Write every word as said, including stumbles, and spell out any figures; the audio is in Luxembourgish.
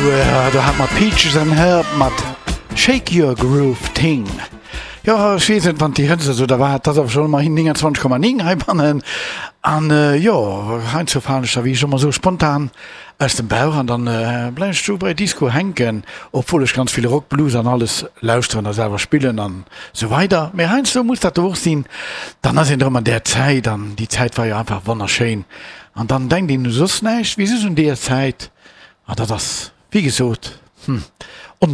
Sou, do hate mer Peaches and Herb mat Shake Your Groove Thing. Jo, ech weess net, wann déi Hëtzt esou da war, et ass awer schonn ëmmerhin nénganzwanzeg Komma néng heibannen. An jo, heiansdo falen ech da wéi ech ëmmer sou spontan aus dem Bauch an dann bleiwen ech do bei Disco hänken, obwuel ech ganz vill Rock, Blues an alles lauschteren a selwer spillen an sou weider. Mee heiansdo muss dat do och sinn, dann ass een erëm an där Zäit an déi Zäit war jo einfach wonnerschéin an dann denkt een u soss näischt wéi just un déi Zäit an dat ass wéi gesot, hm,